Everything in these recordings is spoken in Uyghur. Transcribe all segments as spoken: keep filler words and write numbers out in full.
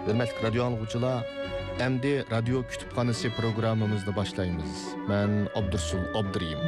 ھۆرمەتلىك رادىيو ئاڭلىغۇچىلار، ئەمدى رادىيو كۇتۇپخانىسى پروگراممىمىزنى باشلايمىز. مەن ئابدۇرسۇل ئابدۇرېھىم.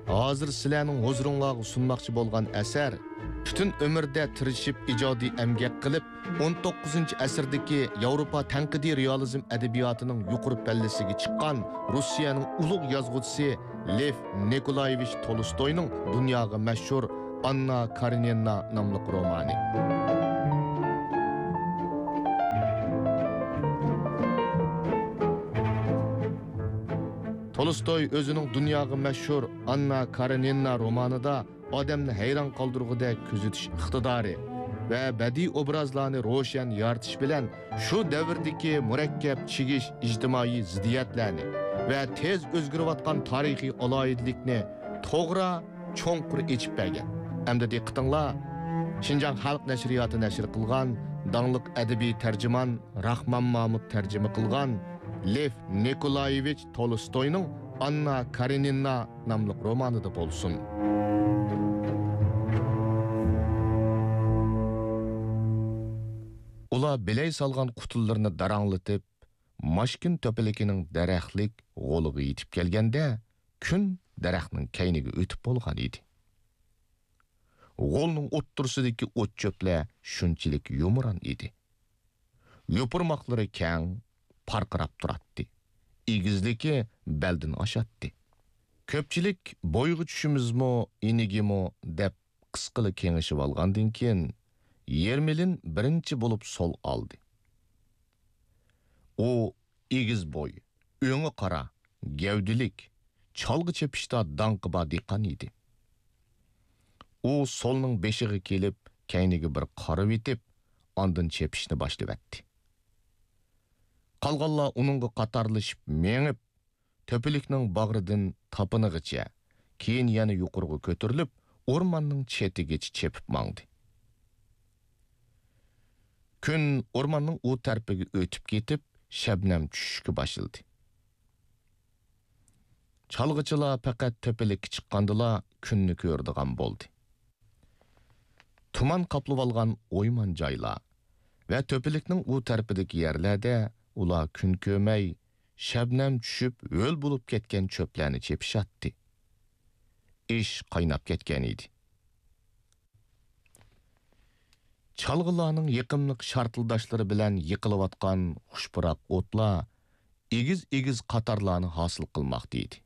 ھازىر سىلەرنىڭ ھۇزۇرۇڭلارغا سۇنماقچى بولغان ئەسەر پۈتۈن ئۆمرىدە تىرىشىپ ئىجادىي ئەمگەك قىلىپ، ئون توققۇزىنچى ئەسىردىكى ياۋروپا تەنقىدىي رېئالىزم ئەدەبىياتىنىڭ يۇقىرى پەللىسىگە چىققان روسىيەنىڭ ئۇلۇغ يازغۇچىسى لېف نىكولايېۋىچ تولستوينىڭ دۇنياغا مەشھۇر ئاننا كارېنىنا ناملىق رومانى. تولستوي ئۆزىنىڭ دۇنياغا مەشھۇر ئاننا كارېنىنا رومانىدا ئادەمنى ھەيران قالدۇرغۇدەك كۆزىتىش ئىقتىدارى ۋە بەدىئىي ئوبرازلارنى روشەن يارىتىش بىلەن شۇ دەۋردىكى مۇرەككەپ چىگىش ئىجتىمائىي زىددىيەتلەرنى ۋە تېز ئۆزگىرىۋاتقان تارىخىي ئالاھىدىلىكنى توغرا، چوڭقۇر ئېچىپ بەرگەن. ئەمدى دىققىتىڭلار شىنجاڭ خەلق نەشرىياتى نەشر قىلغان داڭلىق ئەدەبىي تەرجىمان راخمان مامۇت تەرجىمە قىلغان لېف نىكولايېۋىچ تولستوينىڭ ئاننا كارېنىنا ناملىق رومانىدا بولسۇن. ئۇلار بىلەي سالغان قۇتۇلىرىنى داراڭلىتىپ، ماشكىن تۆپىلىكىنىڭ دەرەخلىك غولىغا يېتىپ كەلگەندە، كۈن دەرەخنىڭ كەينىگە ئۆتۈپ بولغان ئىدى. غولنىڭ ئوتتۇرىسىدىكى ئوت-چۆپلەر شۇنچىلىك يۇمران ئىدى. يوپۇرماقلىرى كەڭ، پارقىراپ تۇراتتى. ئېگىزلىكى بەلدىن ئاشاتتى. كۆپچىلىك بويغا چۈشىمىزمۇ، ئېنىگىمۇ دەپ قىسقىلا كېڭىشىۋالغاندىن كېيىن، يېرمىلىن بىرىنچى بولۇپ سول ئالدى. ئۇ ئېگىز بوي، ئۆڭى قارا، گەۋدىلىك، چالغا چېپىشتا داڭقى بار دېھقان ئىدى. ئۇ سولنىڭ بېشىغا كېلىپ، كەينىگە بىر قارىۋېتىپ، ئاندىن چېپىشنى باشلىۋەتتى. قالغانلار ئۇنىڭغا قاتارلىشىپ مېڭىپ، تۆپىلىكنىڭ باغرىدىن تاپىنىغىچە، كېيىن يەنە يۇقىرىغا كۆتۈرۈلۈپ، ئورماننىڭ چېتىگىچە چېپىپ ماڭدى. كۈن ئورماننىڭ ئۇ تەرىپىگە ئۆتۈپ كېتىپ، شەبنەم چۈشۈشكە باشلىدى. چالغىچىلار پەقەت تۆپىلىككە چىققاندىلا كۈننى كۆرىدىغان بولدى. تۇمان قاپلىۋالغان ئويمان جايلار ۋە تۆپىلىكنىڭ ئۇ تەرىپىدىكى يەرلەردە ئۇلار كۈن كۆرمەي، شەبنەم چۈشۈپ، ھۆل بولۇپ كەتكەن چۆپلەرنى چېپىشاتتى. ئىش قايناپ كەتكەن ئىدى. چالغىلارنىڭ يېقىملىق شارتىلداشلىرى بىلەن يېقىلىۋاتقان خۇش پۇراق ئوتلار ئېگىز-ئېگىز قاتارلارنى ھاسىل قىلماقتا ئىدى.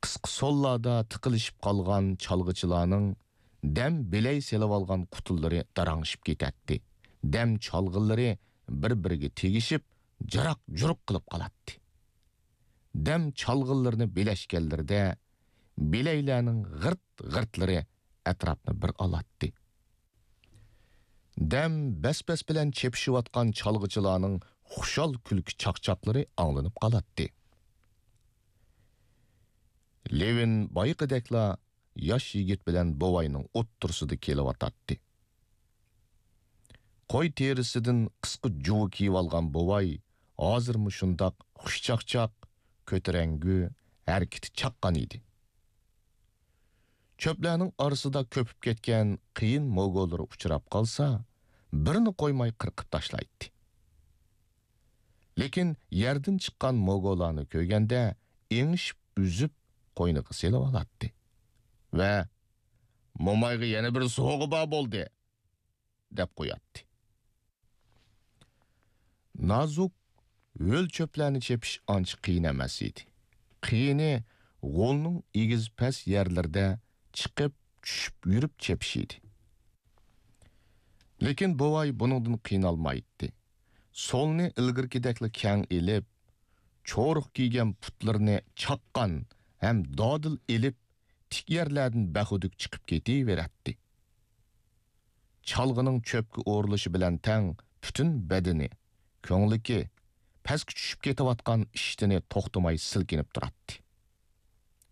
قىسقا سوللاردا تىقىلىشىپ قالغان چالغىچىلارنىڭ دەم بىلەي سېلىۋالغان قۇتۇلىرى داراڭشىپ كېتەتتى. دەم چالغىلىرى بىر-بىرىگە تېگىشىپ، جاراق-جۇرۇق قىلىپ قالاتتى. دەم چالغىلىرىنى بىلەشكەنلىرىدە، بىلەيلەرنىڭ غىرت-غىرتلىرى ئەتراپنى بىر ئالاتتى. دەم بەس-بەس بىلەن چېپىشىۋاتقان چالغىچىلارنىڭ خۇشال كۈلكە چاقچاقلىرى ئاڭلىنىپ قالاتتى. لېۋىن بايىقىدەكلا ياش يىگىت بىلەن بوۋاينىڭ ئوتتۇرىسىدا كېلىۋاتاتتى. قوي تېرىسىدىن قىسقا جۇۋا كىيىۋالغان بوۋاي ھازىرمۇ شۇنداق خۇشچاقچاق، كۆتۈرەڭگۈ، ھەرىكىتى چاققان ئىدى. چۆپلەرنىڭ ئارىسىدا كۆپۈپ كەتكەن قېيىن موگولىرى ئۇچراپ قالسا، بىرنى قويماي قىرقىپ تاشلايتتى. لېكىن يەردىن چىققان موگولارنى كۆرگەندە، ئېڭىشىپ ئۈزۈپ، قوينىغا سېلىۋالاتتى ۋە «مومايغا يەنە بىر سوۋغا بار بولدى» دەپ قوياتتى. نازۇك ھۆل چۆپلەرنى چېپىش ئانچە قىيىن ئەمەس ئىدى. قىيىنى غولنىڭ ئېگىز-پەس يەرلىرىدە چىقىپ، چۈشۈپ يۈرۈپ چېپىش ئىدى. لېكىن بوۋاي بۇنىڭدىن قىينالمايتتى. سولنى ئىلگىرىكىدەكلا كەڭ ئېلىپ، چورۇق كىيگەن پۇتلىرىنى چاققان ھەم دادىل ئېلىپ، تىك يەرلەردىن بەخۇدۇك چىقىپ كېتىۋېرەتتى. چالغىنىڭ چۆپكە ئورۇلۇشى بىلەن تەڭ پۈتۈن بەدىنى، كۆڭلىكى، پەسكە چۈشۈپ كېتىۋاتقان ئىشتىنى توختىماي سىلكىنىپ تۇراتتى.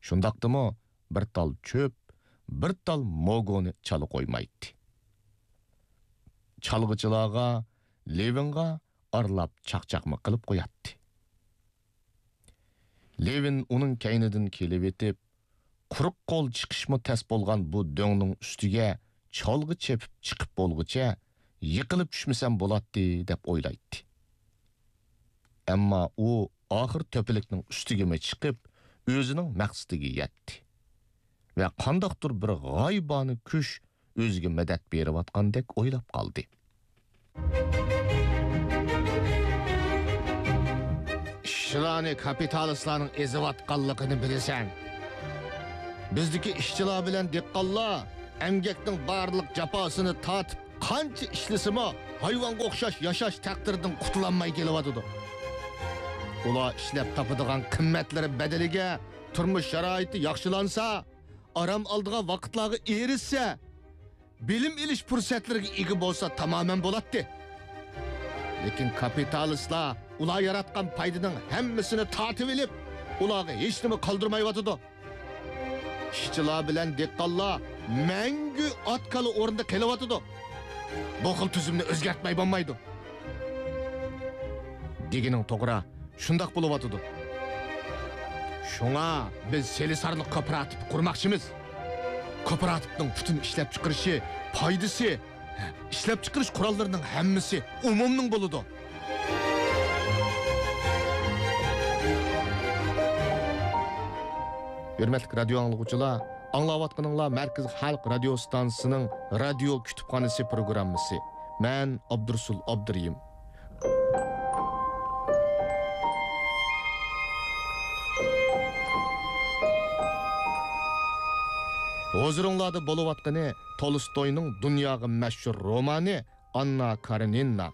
شۇنداقتىمۇ بىر تال چۆپ، بىر تال موگونى چالا قويمايتتى. چالغىچىلارغا، لېۋىنغا ئارىلاپ چاقچاقمۇ قىلىپ قوياتتى. لېۋىن ئۇنىڭ كەينىدىن كېلىۋېتىپ، قۇرۇق قول چىقىشمۇ تەس بولغان بۇ دۆڭنىڭ ئۈستىگە چالغا چېپىپ چىقىپ بولغۇچە يىقىلىپ چۈشمىسەم بولاتتى، دەپ ئويلايتتى. ئەمما ئۇ ئاخىر تۆپىلىكنىڭ ئۈستىگىمۇ چىقىپ، ئۆزىنىڭ مەقسىتىگە يەتتى ۋە قانداقتۇر بىر غايىبانە كۈچ ئۆزىگە مەدەت بېرىۋاتقاندەك ئويلاپ قالدى. ئىشچىلارنى كاپىتالىستلارنىڭ ئېزىۋاتقانلىقىنى بىلىسەن. بىزدىكى ئىشچىلار بىلەن دېھقانلار ئەمگەكنىڭ بارلىق جاپاسىنى تارتىپ، قانچە ئىشلىسىمۇ، ھايۋانغا ئوخشاش ياشاش تەقدىرىدىن قۇتۇلالماي كېلىۋاتىدۇ. ئۇلار ئىشلەپ تاپىدىغان قىممەتلىرى بەدىلىگە تۇرمۇش شارائىتى ياخشىلانسا، ئارام ئالىدىغان ۋاقىتلارغا ئېرىشسە، بىلىم ئېلىش پۇرسەتلىرىگە ئىگە بولسا تامامەن بولاتتى. لېكىن كاپىتالىستلار ئۇلار ياراتقان پايدىنىڭ ھەممىسىنى تارتىۋېلىپ، ئۇلارغا ھېچنېمە قالدۇرمايۋاتىدۇ. ئىشچىلار بىلەن دېھقانلار مەڭگۈ ئات-كالا ئورنىدا قېلىۋاتىدۇ. بۇ خىل تۈزۈمنى ئۆزگەرتمەي بولمايدۇ. دېگىنىڭ توغرا، شۇنداق بولۇۋاتىدۇ. شۇڭا بىز سېلىسارلىق كوپىراتىپى قۇرماقچىمىز. كوپىراتىپنىڭ پۈتۈن ئىشلەپچىقىرىشى، پايدىسى، ئىشلەپچىقىرىش قوراللىرىنىڭ ھەممىسى ئومۇمنىڭ بولىدۇ. ھۆرمەتلىك رادىيو ئاڭلىغۇچىلار، ئاڭلاۋاتقىنىڭلار مەركىزىي خەلق رادىيو ستانسىسىنىڭ رادىيو كۇتۇپخانىسى پروگراممىسى. مەن ئابدۇرۇسۇل ئابدۇرېھىم. ھۇزۇرۇڭلاردا بولۇۋاتقىنى تولستوينىڭ دۇنياغا مەشھۇر رومانى ئاننا كارېنىنا.